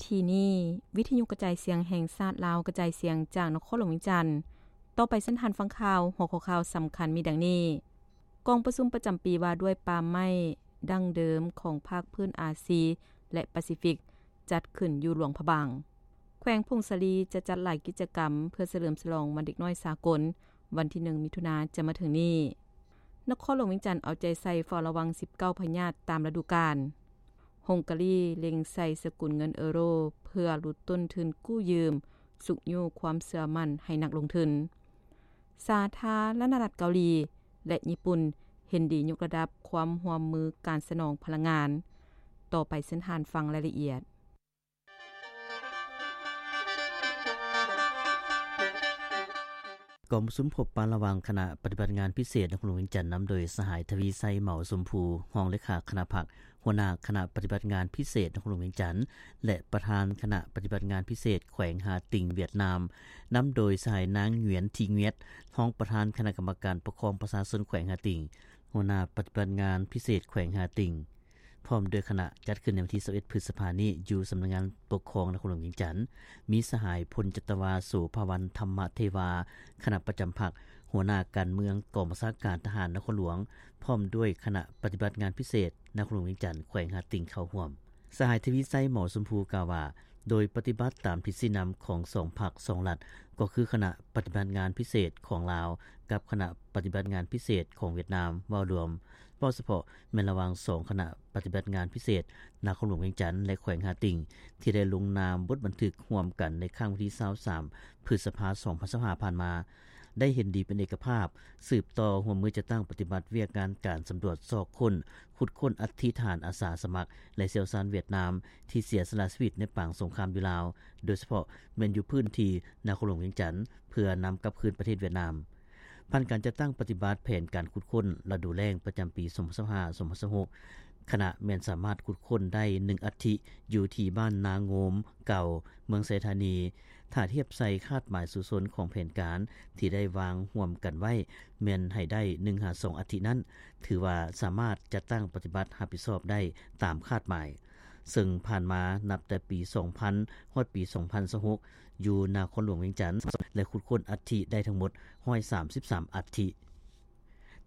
ທີ່ນີ້ ວິທະຍຸກະຈາຍສຽງແຫ່ງຊາດລາວ ກະຈາຍສຽງຈາກນະຄອນຫຼວງວຽງຈັນ. ຕໍ່ໄປເຊີນທ່ານຟັງຂ່າວ. ຫົວຂໍ້ຂ່າວສຳຄັນມີດັ່ງນີ້: ກອງປະຊຸມປະຈຳປີວ່າດ້ວຍປ່າໄມ້ດັ້ງເດີມຂອງພາກພື້ນອາຊີ ແລະ ປາຊີຟິກ ຈັດຂຶ້ນຢູ່ຫຼວງພະບາງ. ແຂວງຜົ້ງສາລີຈະຈັດຫຼາຍກິດຈະກຳເພື່ອສະເຫຼີມສະຫຼອງວັນເດັກນ້ອຍສາກົນ ວັນທີໜຶ່ງ ມິຖຸນາ ຈະມາເຖິງນີ້. ນະຄອນຫຼວງວຽງຈັນເອົາໃຈໃສ່ເຝົ້າລະວັງສິບເກົ້າພະຍາດຕາມລະດູການ. ຮົງກາລີເລັງໃສ່ສະກຸນເງິນເອີໂຣເພື່ອຫຼຸດຕົ້ນທຶນກູ້ຢືມ, ຊຸກຍູ້ຄວາມເຊື່ອໝັ້ນໃຫ້ນັກລົງທຶນ. ສາທາລະນະລັດເກົາຫຼີ ແລະ ຍີ່ປຸ່ນເຫັນດີຍົກລະດັບຄວາມຮ່ວມມືການສະໜອງພະລັງງານ. ຕໍ່ໄປເຊີນທ່ານຟັງລາຍລະອຽດ. ກອງປະຊຸມພົບປະລະຫວ່າງຄະນະປະຕິບັດງານພິເສດນະຄອນຫຼວງວຽງຈັນ ນຳໂດຍສະຫາຍ ທະວີໄຊ ເໝົາຊົມພູ ຮອງເລຂາຄະນະພັກ, ຫົວໜ້າຄະນະປະຕິບັດງານພິເສດນະຄອນຫຼວງວຽງຈັນ ແລະ ປະທານຄະນະປະຕິບັດງານພິເສດແຂວງຫາຕິງຫວຽດນາມ, ນຳໂດຍສະຫາຍ ນາງ ຫງວຽນ ທີ ຫງວຽດ ຮອງປະທານຄະນະກຳມະການປົກຄອງປະຊາຊົນແຂວງຫາຕິງ, ຫົວໜ້າປະຕິບັດງານພິເສດແຂວງຫາຕິງ ພ້ອມດ້ວຍຄະນະ ຈັດຂຶ້ນໃນວັນທີຊາວເອັດ ພຶດສະພານີ້ ຢູ່ສຳນັກງານປົກຄອງນະຄອນຫຼວງວຽງຈັນ. ມີສະຫາຍ ພົນຈັດຕະວາ ໂສພາວັນ ທຳມະເທວາ ຄະນະປະຈຳພັກ, ຫົວໜ້າການເມືອງກອງບັນຊາການທະຫານນະຄອນຫຼວງ, ພ້ອມດ້ວຍຄະນະປະຕິບັດງານພິເສດນະຄອນຫຼວງວຽງຈັນ ແຂວງຫາຕິງເຂົ້າຮ່ວມ. ສະຫາຍ ທະວີໄຊ ເໝົາຊົມພູ ກ່າວວ່າ ໂດຍປະຕິບັດຕາມທິດຊີ້ນຳຂອງສອງພັກສອງລັດ ກໍຄືຄະນະປະຕິບັດງານພິເສດຂອງລາວ ກັບຄະນະປະຕິບັດງານພິເສດຂອງຫວຽດນາມ ເວົ້າລວມ, ເວົ້າສະເພາະແມ່ນລະຫວ່າງສອງຄະນະປະຕິບັດງານພິເສດນະຄອນຫຼວງວຽງຈັນ ແລະ ແຂວງຫາຕິງ ທີ່ໄດ້ລົງນາມບົດບັນທຶກຮ່ວມກັນໃນຄັ້ງວັນທີຊາວສາມ ພຶດສະພາ ສອງພັນຊາວຫ້າ ຜ່ານມາ, ໄດ້ເຫັນດີເປັນເອກະພາບ ສືບຕໍ່ຮ່ວມມືຈັດຕັ້ງປະຕິບັດວຽກງານການສຳຫຼວດຊອກຄົ້ນ, ຂຸດຄົ້ນອັດຖິທະຫານອາສາສະໝັກ ແລະ ຊ່ຽວຊານຫວຽດນາມ ທີ່ເສຍສະຫຼະຊີວິດໃນປາງສົງຄາມຢູ່ລາວ, ໂດຍສະເພາະແມ່ນຢູ່ພື້ນທີ່ນະຄອນຫຼວງວຽງຈັນ ເພື່ອນຳກັບຄືນປະເທດຫວຽດນາມ. ຜ່ານການຈັດຕັ້ງປະຕິບັດແຜນການຂຸດຄົ້ນລະດູແລ້ງປະຈຳປີສອງພັນຊາວຫ້າ ສອງພັນຊາວຫົກ ຄະນະແມ່ນສາມາດຂຸດຄົ້ນໄດ້ໜຶ່ງອັດຖິ ຢູ່ທີ່ບ້ານນາໂງມເກົ່າ ເມືອງໄຊທານີ. ຖ້າທຽບໃສ່ຄາດໝາຍສູ້ຊົນຂອງແຜນການທີ່ໄດ້ວາງຮ່ວມກັນໄວ້ ແມ່ນໃຫ້ໄດ້ໜຶ່ງຫາສອງອັດຖິນັ້ນ, ຖືວ່າສາມາດຈັດຕັ້ງປະຕິບັດຮັບຜິດຊອບໄດ້ຕາມຄາດໝາຍ. ເຊິ່ງຜ່ານມານັບແຕ່ປີສອງພັນຮອດປີສອງພັນຊາວຫົກ ຢູ່ນະຄອນຫຼວງວຽງຈັນ ແລະ ຂຸດຄົ້ນອັດຖິໄດ້ທັງໝົດຮ້ອຍສາມສິບສາມອັດຖິ.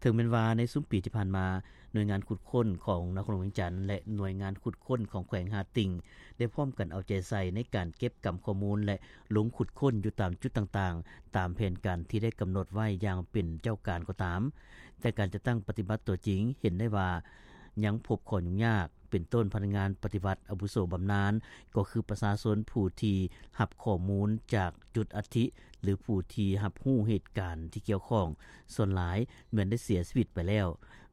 ເຖິງແມ່ນວ່າໃນຊຸມປີທີ່ຜ່ານມາ, ໜ່ວຍງານຂຸດຄົ້ນຂອງນະຄອນຫຼວງວຽງຈັນ ແລະ ໜ່ວຍງານຂຸດຄົ້ນຂອງແຂວງຫາດຕິ່ງ ໄດ້ພ້ອມກັນເອົາໃຈໃສ່ໃນການເກັບກຳຂໍ້ມູນ ແລະ ລົງຂຸດຄົ້ນຢູ່ຕາມຈຸດຕ່າງໆ ຕາມແຜນການທີ່ໄດ້ກຳນົດໄວ້ຢ່າງເປັນເຈົ້າການກໍຕາມ, ແຕ່ການຈັດຕັ້ງປະຕິບັດຕົວຈິງເຫັນໄດ້ວ່າຍັງພົບຂໍ້ຫຍຸ້ງຍາກ, ເປັນຕົ້ນພະນັກງານປະຕິບັດອາວຸໂສບຳນານ ກໍຄືປະຊາຊົນຜູ້ທີ່ຮັບຂໍ້ມູນຈາກຈຸດອັດຖິ ຫຼື ຜູ້ທີ່ຮັບຮູ້ເຫດການທີ່ກ່ຽວຂ້ອງ ສ່ວນຫຼາຍແມ່ນໄດ້ເສຍຊີວິດໄປແລ້ວ.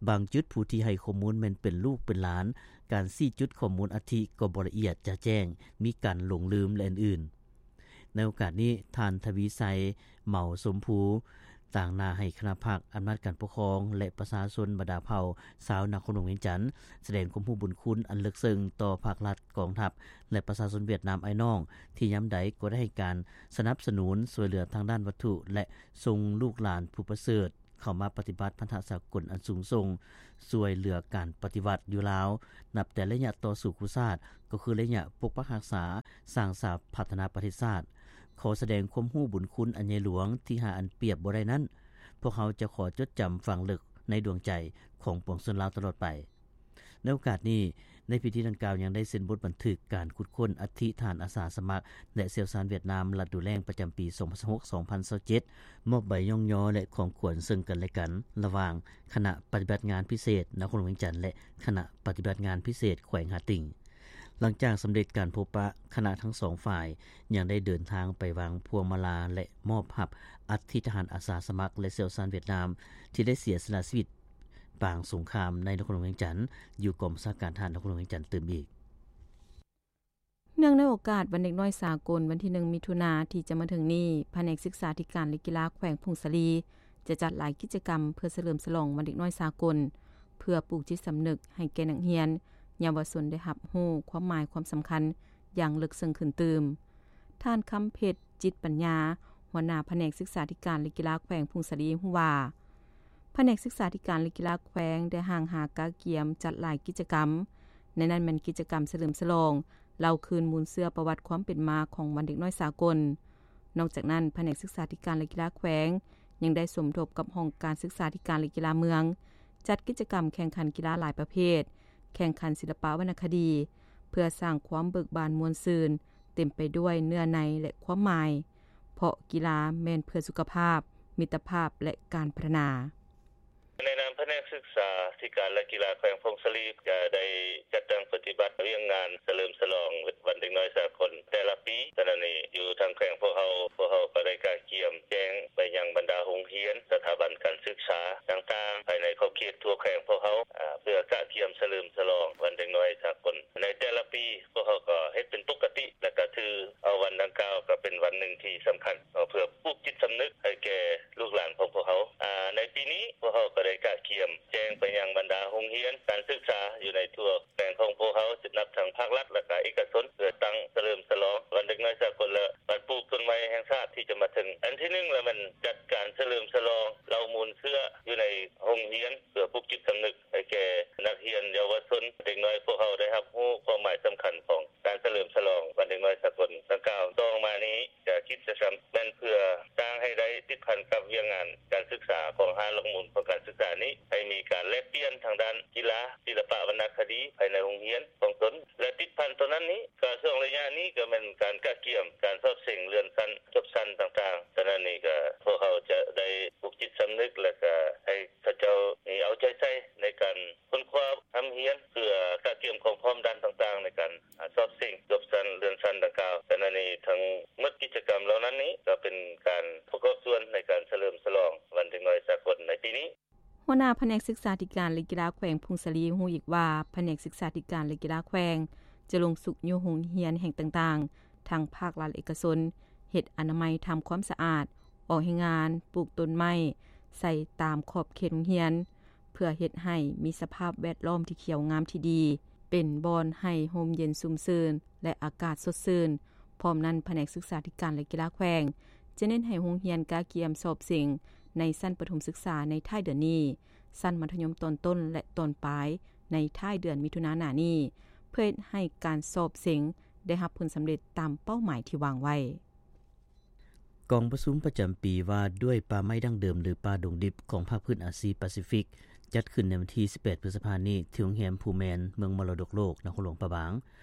ບາງຈຸດຜູ້ທີ່ໃຫ້ຂໍ້ມູນແມ່ນເປັນລູກເປັນຫຼານ, ການຊີ້ຈຸດຂໍ້ມູນອັດຖິກໍບໍ່ລະອຽດຈະແຈ້ງ, ມີການຫຼົງລືມ ແລະ ອື່ນໆ. ໃນໂອກາດນີ້, ທ່ານ ທະວີໄຊ ເໝົາຊົມພູ ຕາງໜ້າໃຫ້ຄະນະພັກ, ອຳນາດການປົກຄອງ ແລະ ປະຊາຊົນບັນດາເຜົ່າຊາວນະຄອນຫຼວງວຽງຈັນ ສະແດງຄວາມຮູ້ບຸນຄຸນອັນເລິກເຊິ່ງຕໍ່ພາກລັດ, ກອງທັບ ແລະ ປະຊາຊົນຫວຽດນາມອ້າຍນ້ອງ ທີ່ຍາມໃດກໍໄດ້ໃຫ້ການສະໜັບສະໜູນຊ່ວຍເຫຼືອທາງດ້ານວັດຖຸ ແລະ ສົ່ງລູກຫຼານຜູ້ປະເສີດ ເຂົ້າມາປະຕິບັດພັນທະສາກົນອັນສູງສົ່ງ, ຊ່ວຍເຫຼືອການປະຕິວັດຢູ່ລາວ, ນັບແຕ່ໄລຍະຕໍ່ສູ້ຄູ່ຊາດ, ກໍຄືໄລຍະປົກປັກຮັກສາ, ສ້າງສາພັດທະນາປະເທດຊາດ. ຂໍສະແດງຄວາມຮູ້ບຸນຄຸນອັນໃຫຍ່ຫຼວງທີ່ຫາອັນປຽບບໍ່ໄດ້ນັ້ນ, ພວກເຮົາຈະຂໍຈົດຈຳຝັງເລິກໃນດວງໃຈຂອງປວງຊົນລາວຕະຫຼອດໄປ. ໃນໂອກາດນີ້, ໃນພິທີດັ່ງກ່າວຍັງໄດ້ເຊັນບົດບັນທຶກການຂຸດຄົ້ນອັດຖິທະຫານອາສາສະໝັກ ແລະ ຊ່ຽວຊານຫວຽດນາມ ລັດດູແລ້ງປະຈຳປີສອງພັນຊາວຫົກ ສອງພັນຊາວເຈັດ, ມອບໃບຍ້ອງຍໍ ແລະ ຂອງຂວັນເຊິ່ງກັນ ແລະ ກັນ ລະຫວ່າງຄະນະປະຕິບັດງານພິເສດນະຄອນຫຼວງວຽງຈັນ ແລະ ຄະນະປະຕິບັດງານພິເສດແຂວງຫາດຕິ່ງ. ຫຼັງຈາກສຳເລັດການພົບປະ, ຄະນະທັງສອງຝ່າຍຍັງໄດ້ເດີນທາງໄປວາງພວງມາລາ ແລະ ມອບຮັບອັດຖິທະຫານອາສາສະໝັກ ແລະ ຊ່ຽວຊານຫວຽດນາມ ທີ່ໄດ້ເສຍສະຫຼະຊີວິດ ປາງສົງຄາມໃນນະຄອນຫຼວງວຽງຈັນ ຢູ່ກອງບັນຊາການທະຫານນະຄອນຫຼວງວຽງຈັນຕື່ມອີກ. ເນື່ອງໃນໂອກາດວັນເດັກນ້ອຍສາກົນ ວັນທີໜຶ່ງ ມິຖຸນາ ທີ່ຈະມາເຖິງນີ້, ພະແນກສຶກສາທິການ ແລະ ກິລາແຂວງຜົ້ງສາລີ ຈະຈັດຫຼາຍກິດຈະກຳເພື່ອສະເຫຼີມສະຫຼອງວັນເດັກນ້ອຍສາກົນ, ເພື່ອປູກຈິດສຳນຶກໃຫ້ແກ່ນັກຮຽນ, ເຍົາວະຊົນໄດ້ຮັບຮູ້ຄວາມໝາຍຄວາມສຳຄັນຢ່າງເລິກເຊິ່ງຂຶ້ນຕື່ມ. ທ່ານ ຄຳເພັດ ຈິດປັນຍາ, ຫົວໜ້າພະແນກສຶກສາທິການ ແລະ ກິລາແຂວງຜົ້ງສາລີ ຮູ້ວ່າ ພະແນກສຶກສາທິການ ແລະ ກິລາແຂວງໄດ້ຮ່າງຫາກະກຽມຈັດຫຼາຍກິດຈະກຳ, ໃນນັ້ນແມ່ນກິດຈະກຳສະເຫຼີມສະຫຼອງ ເລົ່າຄືນມູນເຊື້ອປະຫວັດຄວາມເປັນມາຂອງວັນເດັກນ້ອຍສາກົນ. ນອກຈາກນັ້ນ, ພະແນກສຶກສາທິການ ແລະ ກິລາແຂວງ ຍັງໄດ້ສົມທົບກັບຫ້ອງການສຶກສາທິການ ແລະ ກິລາເມືອງ ຈັດກິດຈະກຳແຂ່ງຂັນກິລາຫຼາຍປະເພດ, ແຂ່ງຂັນສິລະປະວັນນະຄະດີ ເພື່ອສ້າງຄວາມເບີກບານມ່ວນຊື່ນ, ເຕັມໄປດ້ວຍເນື້ອໃນ ແລະ ຄວາມໝາຍ, ເພາະກິລາແມ່ນເພື່ອສຸຂະພາບ, ມິດຕະພາບ ແລະ ການພັດທະນາ. ໃນນາມພະແນກສຶກສາທິການ ແລະ ກິລາແຂວງຜົ້ງສາລີ ຈະໄດ້ຈັດຕັ້ງປະຕິບັດວຽກງານສະເຫຼີມສະຫຼອງວັນເດັກນ້ອຍສາກົນແຕ່ລະປີ. ສະນັ້ນນີ້ ຢູ່ທາງແຂວງພວກເຮົາ, ພວກເຮົາກໍໄດ້ກະກຽມແຈ້ງໄປຍັງບັນດາໂຮງຮຽນ, ສະຖາບັນການສຶກສາຕ່າງໆ ພາຍໃນຂອບເຂດທົ່ວແຂວງພວກເຮົາ, ອາ, ເພື່ອກະກຽມສະເຫຼີມສະຫຼອງວັນເດັກນ້ອຍສາກົນ. ໃນແຕ່ລະປີ ພວກເຮົາກໍເຮັດເປັນປົກກະຕິ ແລະ ກໍຖືເອົາວັນດັ່ງກ່າວກໍເປັນວັນໜຶ່ງທີ່ສຳຄັນເນາະ ເພື່ອປູກຈິດສຳນຶກໃຫ້ແກ່ລູກຫຼານຂອງພວກເຮົາ. ອາ, ໃນປີນີ້ ພວກເຮົາກໍໄດ້ກະກຽມແຈ້ງໄປຍັງບັນດາໂຮງຮຽນການສຶກສາຢູ່ໃນທົ່ວແຂວງຂອງພວກເຮົາ, ນັບທັງພາກລັດ ແລະ ກະເອກະຊົນ, ເພື່ອຕັ້ງສະເຫຼີມສະຫຼອງວັນເດັກນ້ອຍສາກົນ ແລະ ວັນປູກຕົ້ນໄມ້ແຫ່ງຊາດທີ່ຈະມາເຖິງ. ອັນທີໜຶ່ງລະແມ່ນຈັດການສະເຫຼີມສະຫຼອງເລົ່າມູນເຊື້ອຢູ່ໃນໂຮງຮຽນ ເພື່ອປູກຈິດສຳນຶກໃຫ້ແກ່ນັກຮຽນເຍົາວະຊົນ, ເດັກນ້ອຍພວກເຮົາໄດ້ຮັບຮູ້ຄວາມໝາຍສຳຄັນຂອງການສະເຫຼີມສະຫຼອງວັນເດັກນ້ອຍສາກົນດັ່ງກ່າວ. ຕໍ່ມານີ້ ຈະ ກິດຈະກຳແມ່ນເພື່ອສ້າງໃຫ້ໄດ້ຕິດພັນກັບວຽກງານການສຶກສາຂອງຫ້າຫຼັກມູນຂອງການສຶກສານີ້, ໃຫ້ມີການແລກປ່ຽນທາງດ້ານກິລາ, ສິລະປະວັນນະຄະດີພາຍໃນໂຮງຮຽນຂອງຕົນ ແລະ ຕິດພັນຕໍ່ນັ້ນນີ້ ກະຊ່ວງໄລຍະນີ້ກະແມ່ນການກະກຽມການສອບເສັງເລື່ອນຊັ້ນ, ຈົບຊັ້ນຕ່າງໆ. ສະນັ້ນນີ້ກະພວກເຮົາຈະໄດ້ປູກຈິດສຳນຶກ ແລະ ກະໃຫ້ເຂົາເຈົ້ານີ້ເອົາໃຈໃສ່ໃນການ ຄົ້ນຄວ້າຮ່ຳຮຽນ ເພື່ອກະກຽມຄວາມພ້ອມດ້ານຕ່າງໆ ໃນການ ອາ ສອບເສັງຈົບຊັ້ນເລື່ອນຊັ້ນດັ່ງກ່າວ. ຂະນະນີ້ທັງໝົດກິດຈະກຳເຫຼົ່ານັ້ນນີ້ ກໍເປັນການປະກອບສ່ວນໃນການສະເຫຼີມສະຫຼອງວັນເດັກນ້ອຍສາກົນໃນປີນີ້. ຫົວໜ້າພະແນກສຶກສາທິການ ແລະ ກິລາແຂວງຜົ້ງສາລີຮູ້ອີກວ່າ ພະແນກສຶກສາທິການ ແລະ ກິລາແຂວງ ຈະລົງຊຸກຍູ້ໂຮງຮຽນແຫ່ງຕ່າງໆ ທັງພາກລັດ ແລະ ເອກະຊົນ ເຮັດອະນາໄມ, ທຳຄວາມສະອາດ, ອອກແຮງງານ, ປູກຕົ້ນໄມ້ ໃສ່ຕາມຂອບເຂດໂຮງຮຽນ ເພື່ອເຮັດໃຫ້ມີສະພາບແວດລ້ອມທີ່ຂຽວງາມທີ່ດີ, ເປັນບ່ອນໃຫ້ຮົ່ມເຢັນຊຸ່ມຊື່ນ ແລະ ອາກາດສົດຊື່ນ. ພ້ອມນັ້ນ, ພະແນກສຶກສາທິການ ແລະ ກິລາແຂວງ ຈະເນັ້ນໃຫ້ໂຮງຮຽນກະກຽມສອບເສັງໃນຊັ້ນປະຖົມສຶກສາໃນທ້າຍເດືອນນີ້, ຊັ້ນມັດທະຍົມຕອນຕົ້ນ ແລະ ຕອນປາຍໃນທ້າຍເດືອນມິຖຸນາໜ້ານີ້, ເພື່ອເຮັດໃຫ້ການສອບເສັງໄດ້ຮັບຜົນສຳເລັດຕາມເປົ້າໝາຍທີ່ວາງໄວ້. ກອງປະຊຸມປະຈຳປີວ່າດ້ວຍປ່າໄມ້ດັ້ງເດີມ ຫຼື ປ່າດົງດິບ ຂອງພາກພື້ນອາຊີປາຊີຟິກ ຈັດຂຶ້ນໃນວັນທີສິບແປດ ພຶດສະພານີ້ ທີ່ໂຮງແຮມພູແມນ ເມືອງມໍລະດົກໂລກ ນະຄອນຫຼວງພະບາງ.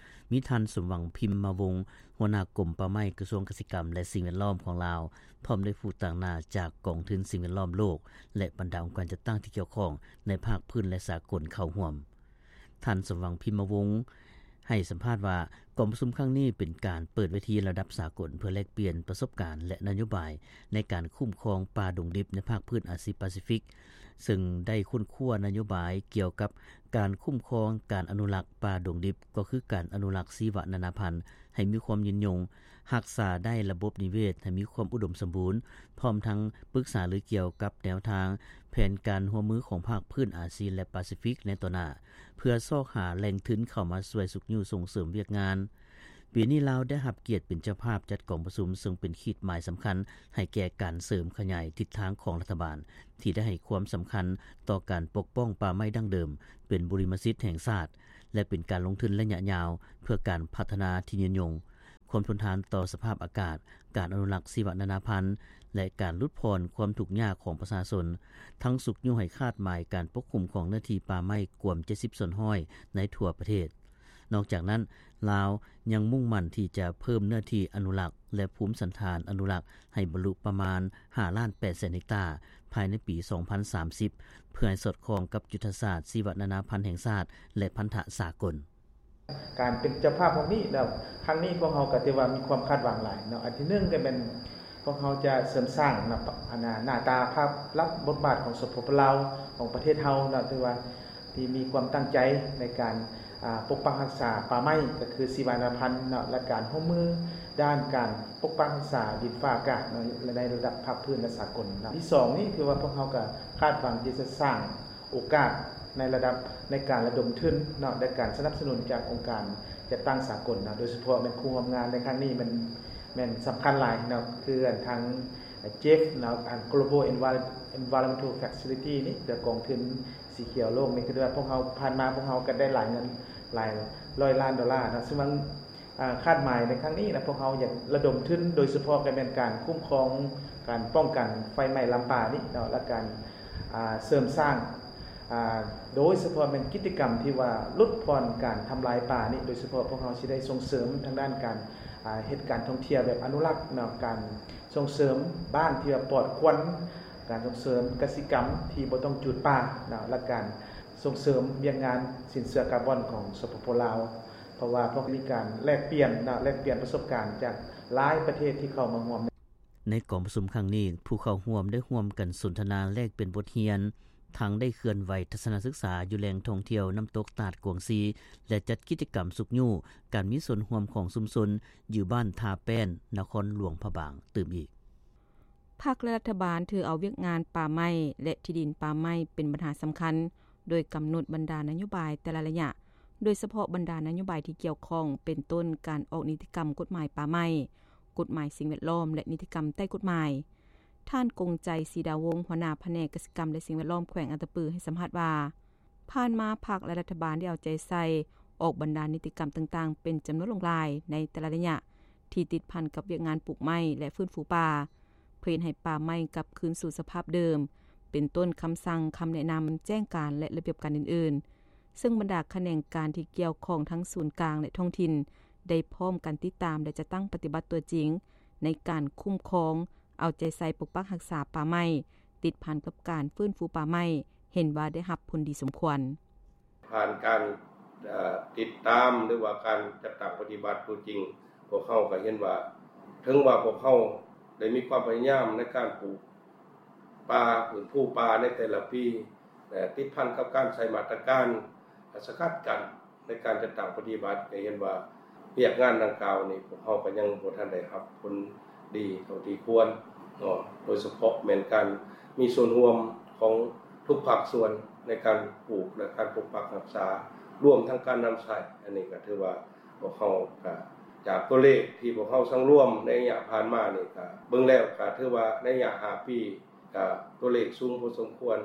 ມີທ່ານ ສົມຫວັງ ພິມມະວົງ ຫົວໜ້າກົມປ່າໄມ້ ກະຊວງກະສິກຳ ແລະ ສິ່ງແວດລ້ອມຂອງລາວ, ພ້ອມດ້ວຍຜູ້ຕາງໜ້າຈາກກອງທຶນສິ່ງແວດລ້ອມໂລກ ແລະ ບັນດາອົງການຈັດຕັ້ງທີ່ກ່ຽວຂ້ອງໃນພາກພື້ນ ແລະ ສາກົນເຂົ້າຮ່ວມ. ທ່ານ ສົມຫວັງ ພິມມະວົງ ໃຫ້ສຳພາດວ່າ ກອງປະຊຸມຄັ້ງນີ້ເປັນການເປີດເວທີລະດັບສາກົນ ເພື່ອແລກປ່ຽນປະສົບການ ແລະ ນະໂຍບາຍໃນການຄຸ້ມຄອງປ່າດົງດິບໃນພາກພື້ນອາຊີປາຊີຟິກ, ເຊິ່ງໄດ້ຄົ້ນຄວ້ານະໂຍບາຍກ່ຽວກັບການຄຸ້ມຄອງ, ການອະນຸລັກປ່າດົງດິບ ກໍຄືການອະນຸລັກຊີວະນານາພັນໃຫ້ມີຄວາມຍືນຍົງ, ຮັກສາໄດ້ລະບົບນິເວດໃຫ້ມີຄວາມອຸດົມສົມບູນ, ພ້ອມທັງປຶກສາລືກ່ຽວກັບແນວທາງແຜນການຮ່ວມມືຂອງພາກພື້ນອາຊີ ແລະ ປາຊີຟິກໃນຕໍ່ໜ້າ, ເພື່ອຊອກຫາແຫຼ່ງທຶນເຂົ້າມາຊ່ວຍຊຸກຍູ້ສົ່ງເສີມວຽກງານ. ປີນີ້ລາວໄດ້ຮັບກຽດເປັນເຈົ້າພາບຈັດກອງປະຊຸມ, ເຊິ່ງເປັນຂີດໝາຍສຳຄັນໃຫ້ແກ່ການເສີມຂະຫຍາຍທິດທາງຂອງລັດຖະບານ ທີ່ໄດ້ໃຫ້ຄວາມສຳຄັນຕໍ່ການປົກປ້ອງປ່າໄມ້ດັ້ງເດີມເປັນບຸລິມະສິດແຫ່ງຊາດ ແລະ ເປັນການລົງທຶນໄລຍະຍາວເພື່ອການພັດທະນາທີ່ຍືນຍົງ, ຄວາມທົນທານຕໍ່ສະພາບອາກາດ, ການອະນຸລັກຊີວະນານາພັນ ແລະ ການຫຼຸດຜ່ອນຄວາມທຸກຍາກຂອງປະຊາຊົນ, ທັງຊຸກຍູ້ໃຫ້ຄາດໝາຍການປົກຄຸມຂອງເນື້ອທີ່ປ່າໄມ້ກວມເຈັດສິບສ່ວນຮ້ອຍໃນທົ່ວປະເທດ. ນອກຈາກນັ້ນ, ລາວຍັງມຸ່ງໝັ້ນທີ່ຈະເພີ່ມເນື້ອທີ່ອະນຸລັກ ແລະ ພູມສັນຖານອະນຸລັກໃຫ້ບັນລຸປະມານຫ້າລ້ານແປດແສນເຮັກຕາ ພາຍໃນປີສອງພັນສາມສິບ ເພື່ອໃຫ້ສອດຄ່ອງກັບຍຸດທະສາດຊີວະນານາພັນແຫ່ງຊາດ ແລະ ພັນທະສາກົນ. ການເປັນເຈົ້າພາບຂອງນີ້ແລ້ວ ຄັ້ງນີ້ພວກເຮົາກໍຖືວ່າມີຄວາມຄາດຫວັງຫຼາຍເນາະ. ອັນທີໜຶ່ງກໍແມ່ນພວກເຮົາຈະເສີມສ້າງນະ ອັນນ່າ ໜ້າຕາພາບລັບບົດບາດຂອງ ສປປ ລາວ ຂອງປະເທດເຮົາເນາະ, ຖືວ່າທີ່ມີຄວາມຕັ້ງໃຈໃນການ ອາ ປົກປັກຮັກສາປ່າໄມ້ ກໍຄືຊີວະນານາພັນເນາະ ແລະ ການຮ່ວມມືດ້ານການປົກປັກຮັກສາດິນຟ້າອາກາດເນາະ ໃນລະດັບພາກພື້ນ ແລະ ສາກົນເນາະ. ທີສອງນີ້ ຄືວ່າພວກເຮົາກໍຄາດຫວັງທີ່ຈະສ້າງ ໂອກາດໃນລະດັບໃນການລະດົມທຶນເນາະ ແລະ ການສະໜັບສະໜູນຈາກອົງການຈັດຕັ້ງສາກົນເນາະ, ໂດຍສະເພາະແມ່ນຄູ່ຮ່ວມງານໃນຄັ້ງນີ້ແມ່ນ ແມ່ນສຳຄັນຫຼາຍເນາະ, ຄືອັນທາງ GEF ເນາະ, ອັນ Global Envi-, Environmental Facility ນີ້ ຫຼື ກອງທຶນສີຂຽວໂລກນີ້, ຄືວ່າພວກເຮົາ ຜ່ານມາພວກເຮົາກໍໄດ້ລາຍງານ ຫຼາຍຮ້ອຍລ້ານໂດລາເນາະ ຊຶ່ງວ່າ ອາ ຄາດໝາຍໃນຄັ້ງນີ້ນະ ພວກເຮົາຢາກລະດົມທຶນ ໂດຍສະເພາະກໍແມ່ນການຄຸ້ມຄອງ ການປ້ອງກັນໄຟໄໝ້ລຳປານີ້ເນາະ ແລະ ການ ອາ ເສີມສ້າງ ອາ ໂດຍສະເພາະແມ່ນກິດຈະກຳທີ່ວ່າຫຼຸດຜ່ອນການທຳລາຍປ່ານີ້ ໂດຍສະເພາະພວກເຮົາຊິໄດ້ສົ່ງເສີມທາງດ້ານການ ອາ ເຮັດການທ່ອງທ່ຽວແບບອະນຸລັກເນາະ ການສົ່ງເສີມບ້ານທີ່ວ່າປອດຄວັນ ການສົ່ງເສີມກະສິກຳທີ່ບໍ່ຕ້ອງຈູດປ່າເນາະ ແລະ ການສົ່ງເສີມວຽກງານສິນເຊື່ອກາບອນຂອງ ສປປ ລາວ ເພາະວ່າພວກມີການແລກປ່ຽນເນາະ ແລກປ່ຽນປະສົບການຈາກຫຼາຍປະເທດທີ່ເຂົ້າມາຮ່ວມ. ໃນກອງປະຊຸມຄັ້ງນີ້ ຜູ້ເຂົ້າຮ່ວມໄດ້ຮ່ວມກັນສົນທະນາແລກປ່ຽນບົດຮຽນ, ທັງໄດ້ເຄື່ອນໄຫວທັດສະນະສຶກສາຢູ່ແຫຼ່ງທ່ອງທ່ຽວນ້ຳຕົກຕາດກວາງຊີ ແລະ ຈັດກິດຈະກຳຊຸກຍູ້ການມີສ່ວນຮ່ວມຂອງຊຸມຊົນຢູ່ບ້ານທ່າແປ້ນ ນະຄອນຫຼວງພະບາງຕື່ມອີກ. ພັກ ແລະ ລັດຖະບານຖືເອົາວຽກງານປ່າໄມ້ ແລະ ທີ່ດິນປ່າໄມ້ເປັນບັນຫາສຳຄັນ ໂດຍກຳນົດບັນດານະໂຍບາຍແຕ່ລະໄລຍະ ໂດຍສະເພາະບັນດານະໂຍບາຍທີ່ກ່ຽວຂ້ອງ ເປັນຕົ້ນການອອກນິຕິກຳກົດໝາຍປ່າໄມ້, ກົດໝາຍສິ່ງແວດລ້ອມ ແລະ ນິຕິກຳໃຕ້ກົດໝາຍ. ທ່ານ ກົງໄຈ ສີດາວົງ ຫົວໜ້າພະແນກກະສິກຳ ແລະ ສິ່ງແວດລ້ອມແຂວງອັດຕະປື ໃຫ້ສຳພາດວ່າ ຜ່ານມາພັກ ແລະ ລັດຖະບານໄດ້ເອົາໃຈໃສ່ອອກບັນດານິຕິກຳຕ່າງໆ ເປັນຈຳນວນຫຼວງຫຼາຍໃນແຕ່ລະໄລຍະ ທີ່ຕິດພັນກັບວຽກງານປູກໄມ້ ແລະ ຟື້ນຟູປ່າ ເພື່ອເຮັດໃຫ້ປ່າໄມ້ກັບຄືນສູ່ສະພາບເດີມ ເປັນຕົ້ນຄຳສັ່ງ, ຄຳແນະນຳ, ແຈ້ງການ ແລະ ລະບຽບການອື່ນໆ ເຊິ່ງບັນດາຂະແໜງການທີ່ກ່ຽວຂ້ອງທັງສູນກາງ ແລະ ທ້ອງຖິ່ນ ໄດ້ພ້ອມກັນຕິດຕາມ ແລະ ຈັດຕັ້ງປະຕິບັດຕົວຈິງ ໃນການຄຸ້ມຄອງ, ເອົາໃຈໃສ່ປົກປັກຮັກສາປ່າໄມ້ ຕິດພັນກັບການຟື້ນຟູປ່າໄມ້ ເຫັນວ່າໄດ້ຮັບຜົນດີສົມຄວນ. ຜ່ານການ ເອີ ຕິດຕາມ ຫຼືວ່າການຈັດຕັ້ງປະຕິບັດຕົວຈິງ ພວກເຮົາກໍເຫັນວ່າ ເຖິງວ່າພວກເຮົາໄດ້ມີຄວາມພະຍາຍາມໃນການປູກປ່າ, ຟື້ນຟູປ່າໃນແຕ່ລະປີ ແລະ ຕິດພັນກັບການໃຊ້ມາດຕະການສະກັດກັ້ນໃນການຈັດຕັ້ງປະຕິບັດ ກໍເຫັນວ່າວຽກງານດັ່ງກ່າວນີ້ ພວກເຮົາກໍຍັງບໍ່ທັນໄດ້ຮັບຜົນດີເທົ່າທີ່ຄວນເນາະ, ໂດຍສະເພາະແມ່ນການມີສ່ວນຮ່ວມຂອງທຸກພາກສ່ວນໃນການປູກ ແລະ ການປົກປັກຮັກສາ ລວມທັງການນຳໃຊ້. ອັນນີ້ກໍຖືວ່າພວກເຮົາກໍ ຈາກຕົວເລກທີ່ພວກເຮົາສັງລວມໃນໄລຍະຜ່ານມານີ້ ກໍເບິ່ງແລ້ວກໍຖືວ່າໃນໄລຍະຫ້າປີ ກໍຕົວເລກສູງພໍສົມຄວນ.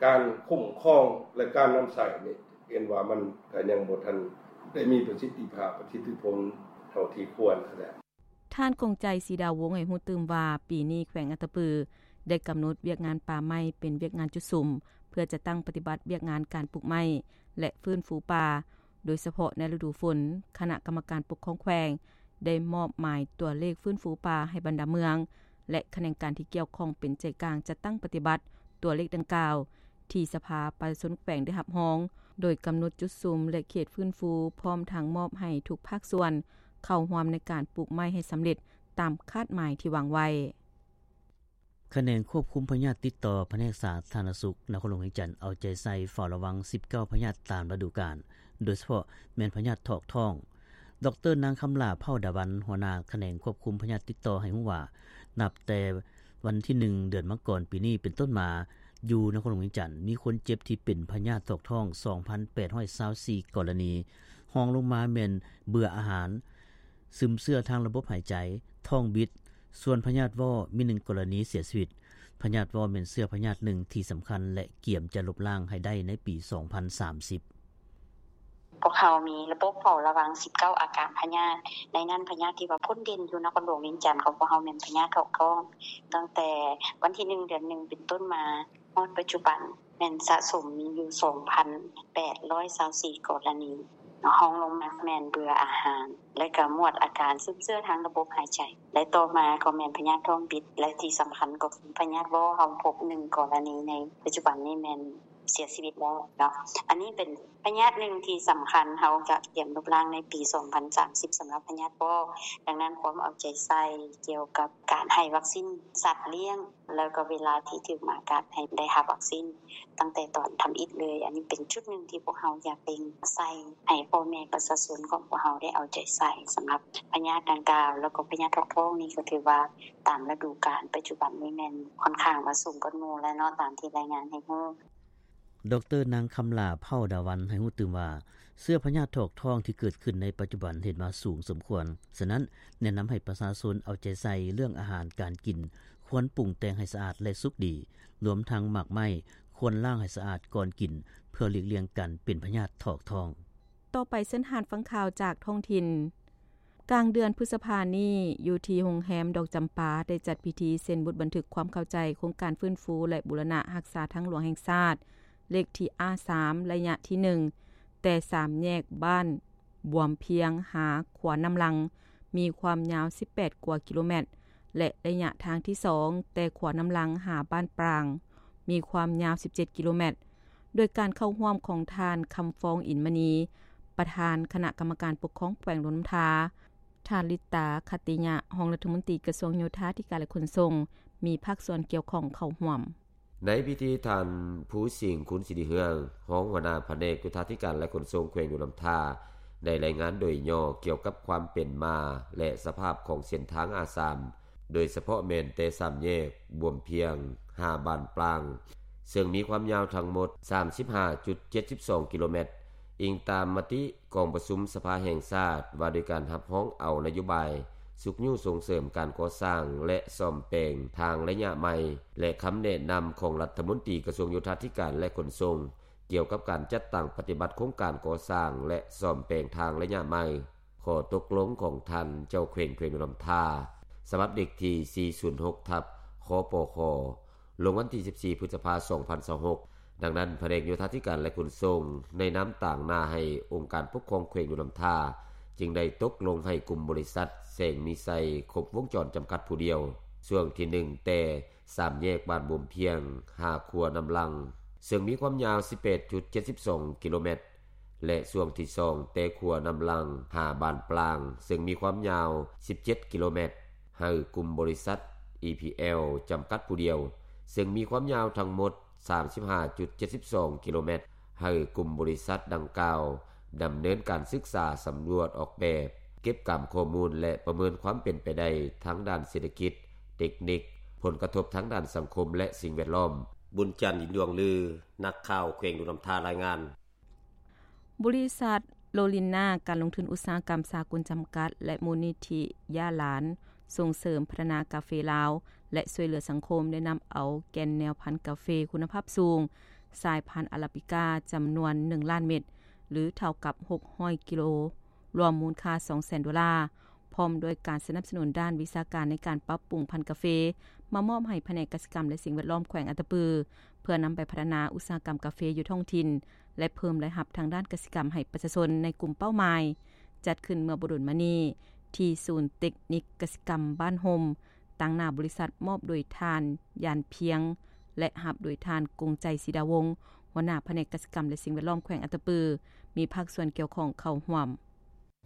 ການຄຸ້ມຄອງ ແລະ ການນຳໃຊ້ນີ້ ເຫັນວ່າມັນກໍຍັງບໍ່ທັນໄດ້ມີປະສິດທິພາບ, ປະສິດທິຜົນເທົ່າທີ່ຄວນຫັ້ນແຫຼະ. ທ່ານ ກົງໄຈ ສີດາວົງ ໃຫ້ຮູ້ຕື່ມວ່າ ປີນີ້ແຂວງອັດຕະປື ໄດ້ກຳນົດວຽກງານປ່າໄມ້ເປັນວຽກງານຈຸດສຸມ ເພື່ອຈັດຕັ້ງປະຕິບັດວຽກງານການປູກໄມ້ ແລະ ຟື້ນຟູປ່າ. ໂດຍສະເພາະໃນລະດູຝົນ, ຄະນະກຳມະການປົກຄອງແຂວງ ໄດ້ມອບໝາຍຕົວເລກຟື້ນຟູປ່າໃຫ້ບັນດາເມືອງ ແລະ ຂະແໜງການທີ່ກ່ຽວຂ້ອງເປັນໃຈກາງຈັດຕັ້ງປະຕິບັດຕົວເລກດັ່ງກ່າວ ທີ່ສະພາປະຊາຊົນແຂວງໄດ້ຮັບຮອງ, ໂດຍກຳນົດຈຸດສຸມ ແລະ ເຂດຟື້ນຟູ, ພ້ອມທັງມອບໃຫ້ທຸກພາກສ່ວນເຂົ້າຮ່ວມໃນການປູກໄມ້ໃຫ້ສຳເລັດຕາມຄາດໝາຍທີ່ວາງໄວ້. ຂະແໜງຄວບຄຸມພະຍາດຕິດຕໍ່ ພະແນກສາທາລະນະສຸກ ນະຄອນຫຼວງວຽງຈັນ ເອົາໃຈໃສ່ເຝົ້າລະວັງສິບເກົ້າພະຍາດຕາມລະດູການ, ໂດຍສະເພາະແມ່ນພະຍາດຖອກທ້ອງ. ດອກເຕີ ນາງ ຄຳຫຼ້າ ເຜົ່າດາວັນ ຫົວໜ້າຂະແໜງຄວບຄຸມພະຍາດຕິດຕໍ່ ໃຫ້ຮູ້ວ່າ ນັບແຕ່ວັນທີໜຶ່ງ ເດືອນມັງກອນ ປີນີ້ເປັນຕົ້ນມາ, ຢູ່ນະຄອນຫຼວງວຽງຈັນ ມີຄົນເຈັບທີ່ເປັນພະຍາດຖອກທ້ອງ ສອງພັນແປດຮ້ອຍຊາວສີ່ກໍລະນີ, ຮອງລົງມາແມ່ນເບື່ອອາຫານ, ຊຶມເຊື້ອທາງລະບົບຫາຍໃຈ, ທ້ອງບິດ, ສ່ວນພະຍາດວໍ້ມີໜຶ່ງກໍລະນີເສຍຊີວິດ. ພະຍາດວໍ້ແມ່ນເຊື້ອພະຍາດໜຶ່ງທີ່ສຳຄັນ ແລະ ກຽມຈະລົບລ້າງໃຫ້ໄດ້ໃນປີສອງພັນສາມສິບ. ພວກເຮົາມີລະບົບເຝົ້າລະວັງສິບເກົ້າອາການພະຍາດ, ໃນນັ້ນພະຍາດທີ່ວ່າພົ້ນເດັ່ນຢູ່ນະຄອນຫຼວງວຽງຈັນຂອງພວກເຮົາແມ່ນພະຍາດຖອກທ້ອງ. ຕັ້ງແຕ່ວັນທີໜຶ່ງ ເດືອນໜຶ່ງ ເປັນຕົ້ນມາ ຮອດປັດຈຸບັນ ແມ່ນສະສົມມີຢູ່ສອງພັນແປດຮ້ອຍຊາວສີ່ກໍລະນີເນາະ, ຮອງລົງມາແມ່ນເບື່ອອາຫານ ແລະ ກໍໝວດອາການຊຶມເຊື້ອທາງລະບົບຫາຍໃຈ ແລະ ຕໍ່ມາກໍແມ່ນພະຍາດທ້ອງບິດ ແລະ ທີ່ສຳຄັນກໍຄືພະຍາດວໍ້ ເຮົາພົບໜຶ່ງກໍລະນີໃນປັດຈຸບັນນີ້ແມ່ນເສຍຊີວິດແລ້ວເນາະ. ອັນນີ້ເປັນພະຍາດໜຶ່ງທີ່ສຳຄັນ ເຮົາກະກຽມລົບລ້າງໃນປີສອງພັນສາມສິບ ສຳລັບພະຍາດວໍ້. ດັ່ງນັ້ນຄວາມເອົາໃຈໃສ່ກ່ຽວກັບການໃຫ້ວັກຊີນສັດລ້ຽງ ແລ້ວກໍເວລາທີ່ຖືກໝາກັດໃຫ້ໄດ້ຮັບວັກຊີນຕັ້ງແຕ່ຕອນທຳອິດເລີຍ. ອັນນີ້ເປັນຈຸດໜຶ່ງທີ່ພວກເຮົາຢາກເລັ່ງໃສ່ໃຫ້ພໍ່ແມ່ປະຊາຊົນຂອງພວກເຮົາໄດ້ເອົາໃຈໃສ່ສຳລັບພະຍາດດັ່ງກ່າວ. ແລ້ວກໍພະຍາດຖອກທ້ອງນີ້ກໍຖືວ່າຕາມລະດູການປັດຈຸບັນນີ້ແມ່ນຂ້ອນຂ້າງວ່າສູງກວ່າໝູ່ແລ້ວເນາະ ຕາມທີ່ລາຍງານໃຫ້ຮູ້. ດອກເຕີ ນາງ ຄຳຫຼ້າ ເຜົ່າດາວັນ ໃຫ້ຮູ້ຕື່ມວ່າ ເຊື້ອພະຍາດຖອກທ້ອງທີ່ເກີດຂຶ້ນໃນປັດຈຸບັນເຫັນວ່າສູງສົມຄວນ, ສະນັ້ນແນະນຳໃຫ້ປະຊາຊົນເອົາໃຈໃສ່ເລື່ອງອາຫານການກິນ, ຄວນປຸງແຕ່ງໃຫ້ສະອາດ ແລະ ສຸກດີ, ລວມທັງໝາກໄມ້ຄວນລ້າງໃຫ້ສະອາດກ່ອນກິນ ເພື່ອຫຼີກລ່ຽງການເປັນພະຍາດຖອກທ້ອງ. ຕໍ່ໄປເຊີນທ່ານຟັງຂ່າວຈາກທ້ອງຖິ່ນ. ກາງເດືອນພຶດສະພານີ້, ຢູ່ທີ່ໂຮງແຮມດອກຈຳປາ ໄດ້ຈັດພິທີເຊັນບົດບັນທຶກຄວາມເຂົ້າໃຈໂຄງການຟື້ນຟູ ແລະ ບູລະນະຮັກສາທາງຫຼວງແຫ່ງຊາດ ເລກທີ ອາ ສາມ ໄລຍະທີ ໜຶ່ງ ແຕ່ສາມແຍກບ້ານບວມພຽງ ຫາຂົວນ້ຳລັງ ມີຄວາມຍາວ ສິບແປດ ກວ່າກິໂລແມັດ ແລະ ໄລຍະທາງທີ ສອງ ແຕ່ຂົວນ້ຳລັງ ຫາບ້ານປາງ ມີຄວາມຍາວ ສິບເຈັດ ກິໂລແມັດ ໂດຍການເຂົ້າຮ່ວມຂອງທ່ານ ຄຳຟອງ ອິນມະນີ ປະທານຄະນະກຳມະການປົກຄອງແຂວງຫຼວງນ້ຳທາ, ທ່ານ ລິດຕາ ຂັດຕິຍະ ຮອງລັດຖະມົນຕີກະຊວງໂຍທາທິການ ແລະ ຂົນສົ່ງ ມີພາກສ່ວນກ່ຽວຂ້ອງເຂົ້າຮ່ວມ. ໃນພິທີ, ທ່ານ ພູສິງ ຄຸນສິລິເຮືອງ ຮອງຫົວໜ້າພະແນກໂຍທາທິການ ແລະ ຂົນສົ່ງແຂວງຫຼວງນ້ຳທາ ໄດ້ລາຍງານໂດຍຫຍໍ້ກ່ຽວກັບຄວາມເປັນມາ ແລະ ສະພາບຂອງເສັ້ນທາງ ອາ ສາມ ໂດຍສະເພາະແມ່ນແຕ່ສາມແຍກບວມພຽງ ຫາບ້ານປາງ ເຊິ່ງມີຄວາມຍາວທັງໝົດ ສາມສິບຫ້າຈຸດເຈັດສິບສອງ ກິໂລແມັດ. ອີງຕາມມະຕິກອງປະຊຸມສະພາແຫ່ງຊາດ ວ່າດ້ວຍການຮັບຮອງເອົານະໂຍບາຍຊຸກຍູ້ສົ່ງເສີມການກໍ່ສ້າງ ແລະ ສ້ອມແປງທາງໄລຍະໃໝ່ ແລະ ຄຳແນະນຳຂອງລັດຖະມົນຕີກະຊວງໂຍທາທິການ ແລະ ຂົນສົ່ງ ກ່ຽວກັບການຈັດຕັ້ງປະຕິບັດໂຄງການກໍ່ສ້າງ ແລະ ສ້ອມແປງທາງໄລຍະໃໝ່, ຂໍ້ຕົກລົງຂອງທ່ານເຈົ້າແຂວງແຂວງຫຼວງນ້ຳທາ ສະບັບເລກທີ ສີ່ສູນຫົກ ທັບ ຄປຄ ລົງວັນທີ ສິບສີ່ ພຶດສະພາ ສອງພັນຊາວຫົກ. ດັ່ງນັ້ນ, ພະແນກໂຍທາທິການ ແລະ ຂົນສົ່ງ ໃນນາມຕາງໜ້າໃຫ້ອົງການປົກຄອງແຂວງຫຼວງນ້ຳທາ ຈຶ່ງໄດ້ຕົກລົງໃຫ້ກຸ່ມບໍລິສັດ ແສງມີໄຊ ຄົບວົງຈອນ ຈຳກັດຜູ້ດຽວ ຊ່ວງທີ ໜຶ່ງ ແຕ່ ສາມແຍກບ້ານບວມພຽງ ຫາຂົວນ້ຳລັງ ເຊິ່ງມີຄວາມຍາວ ສິບແປດຈຸດເຈັດສິບສອງ ກິໂລແມັດ ແລະ ຊ່ວງທີ ສອງ ແຕ່ຂົວນ້ຳລັງ ຫາບ້ານປາງ ເຊິ່ງມີຄວາມຍາວ ສິບເຈັດ ກິໂລແມັດ ໃຫ້ກຸ່ມບໍລິສັດ ອີ ພີ ແອລ ຈຳກັດຜູ້ດຽວ ເຊິ່ງມີຄວາມຍາວທັງໝົດ ສາມສິບຫ້າຈຸດເຈັດສິບສອງ ກິໂລແມັດ ໃຫ້ກຸ່ມບໍລິສັດດັ່ງກ່າວ ດຳເນີນການສຶກສາສຳຫຼວດອອກແບບ, ເກັບກຳຂໍ້ມູນ ແລະ ປະເມີນຄວາມເປັນໄປໄດ້ທາງດ້ານເສດຖະກິດ, ເຕັກນິກ, ຜົນກະທົບທາງດ້ານສັງຄົມ ແລະ ສິ່ງແວດລ້ອມ. ບຸນຈັນ ອິນດວງລື, ນັກຂ່າວແຂວງຫຼວງນ້ຳທາ ລາຍງານ. ບໍລິສັດໂລລິນນາ ການລົງທຶນອຸດສາຫະກຳສາກົນຈຳກັດ ແລະ ມູນນິທິຢາຫຼານ ສົ່ງເສີມພັດທະນາກາເຟລາວ ແລະ ຊ່ວຍເຫຼືອສັງຄົມ ໄດ້ນຳເອົາແກ່ນແນວພັນກາເຟຄຸນນະພາບສູງ ສາຍພັນອາຣາບິກາ ຈຳນວນ ໜຶ່ງລ້ານເມັດ ຫຼື ເທົ່າກັບ ຫົກຮ້ອຍ ກິໂລ, ລວມມູນຄ່າ ສອງແສນ ໂດລາ, ພ້ອມດ້ວຍການສະໜັບສະໜູນດ້ານວິຊາການໃນການປັບປຸງພັນກາເຟ ມາມອບໃຫ້ພະແນກກະສິກຳ ແລະ ສິ່ງແວດລ້ອມແຂວງອັດຕະປື ເພື່ອນຳໄປພັດທະນາອຸດສາຫະກຳກາເຟຢູ່ທ້ອງຖິ່ນ ແລະ ເພີ່ມລາຍຮັບທາງດ້ານກະສິກຳໃຫ້ປະຊາຊົນໃນກຸ່ມເປົ້າໝາຍ. ຈັດຂຶ້ນເມື່ອບໍ່ດົນມານີ້ ທີ່ສູນເຕັກນິກກະສິກຳບ້ານຮົ່ມ, ຕາງໜ້າບໍລິສັດ, ມອບໂດຍທ່ານ ຢານພຽງ ແລະ ຮັບໂດຍທ່ານ ກົງໃຈ ສີດາວົງ, ຫົວໜ້າພະແນກກະສິກຳ ແລະ ສິ່ງແວດລ້ອມແຂວງອັດຕະປື, ມີພາກສ່ວນກ່ຽວຂ້ອງເຂົ້າຮ່ວມ.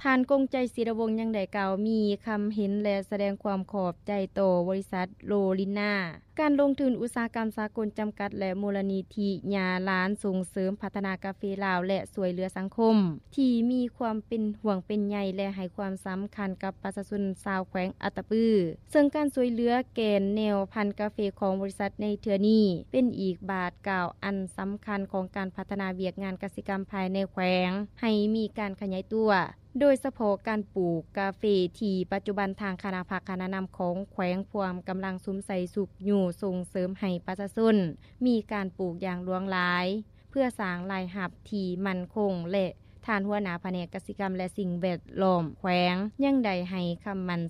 ທ່ານ ກົງໃຈ ສີດາວົງ ຍັງໄດ້ກ່າວມີຄຳເຫັນ ແລະ ສະແດງຄວາມຂອບໃຈຕໍ່ບໍລິສັດໂລລິນນາ ການລົງທຶນອຸດສາຫະກຳສາກົນຈຳກັດ ແລະ ມູນນິທິຢາຫຼານ ສົ່ງເສີມພັດທະນາກາເຟລາວ ແລະ ຊ່ວຍເຫຼືອສັງຄົມ ທີ່ມີຄວາມເປັນຫ່ວງເປັນໃຍ ແລະ ໃຫ້ຄວາມສຳຄັນກັບປະຊາຊົນຊາວແຂວງອັດຕະປື, ເຊິ່ງການຊ່ວຍເຫຼືອແກ່ນແນວພັນກາເຟຂອງບໍລິສັດໃນເທື່ອນີ້ ເປັນອີກບາດກ້າວອັນສຳຄັນຂອງການພັດທະນາວຽກງານກະສິກຳພາຍໃນແຂວງ ໃຫ້ມີການຂະຫຍາຍຕົວ. ໂດຍສະເພາະການປູກກາເຟ ທີ່ປັດຈຸບັນທາງຄະນະພັກຄະນະນຳຂອງແຂວງພວມກຳລັງສຸມໃສ່ຊຸກຍູ້ສົ່ງເສີມໃຫ້ປະຊາຊົນມີການປູກຢ່າງຫຼວງຫຼາຍ ເພື່ອສ້າງລາຍຮັບທີ່ໝັ້ນຄົງ ແລະ ທ່ານຫົວໜ້າພະແນກກະສິກຳ ແລະ ສິ່ງແວດລ້ອມແຂວງ ຍັງໄດ້ໃຫ້ຄຳໝັ້ນ